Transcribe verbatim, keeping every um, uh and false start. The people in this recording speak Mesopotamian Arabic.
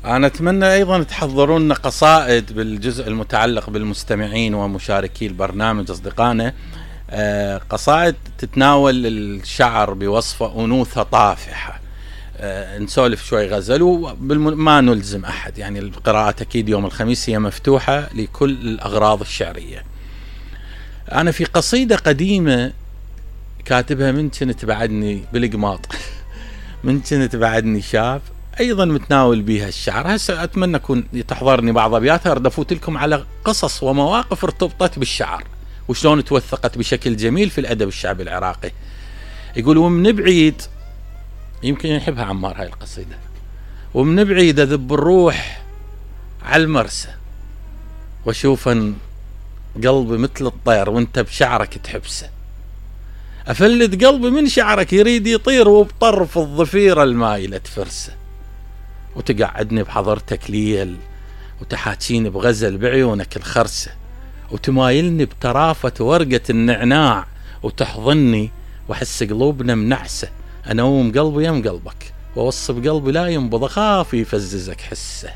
أنا أتمنى أيضا تحضرون لنا قصائد بالجزء المتعلق بالمستمعين ومشاركي البرنامج أصدقائنا، أه قصائد تتناول الشعر بوصفة أنوثة طافحة. أه نسولف شوي غزل وما نلزم أحد، يعني القراءة أكيد يوم الخميس هي مفتوحة لكل الأغراض الشعرية. أنا في قصيدة قديمة كاتبها من كنت بعدني بالقماط من كنت بعدني شاب، أيضا متناول بها الشعر. هسه أتمنى أكون تحضرني بعض أبياتها، أرد أفوت لكم على قصص ومواقف ارتبطت بالشعر وشلون توثقت بشكل جميل في الأدب الشعبي العراقي. يقول: ومن بعيد، يمكن يحبها عمار هاي القصيدة، ومن بعيد أذب الروح على المرسى وشوفا قلبي مثل الطير وانت بشعرك تحبسه، أفلت قلبي من شعرك يريد يطير وبطرف الضفيرة المايلة تفرسه، وتقعدني بحضرتك ليل وتحاكيني بغزل بعيونك الخرسة، وتمايلني بترافة ورقة النعناع وتحضني وحس قلوبنا منعسة، أنوم قلبي يم قلبك ووصف قلبي لا ينبض أخاف يفززك حسه.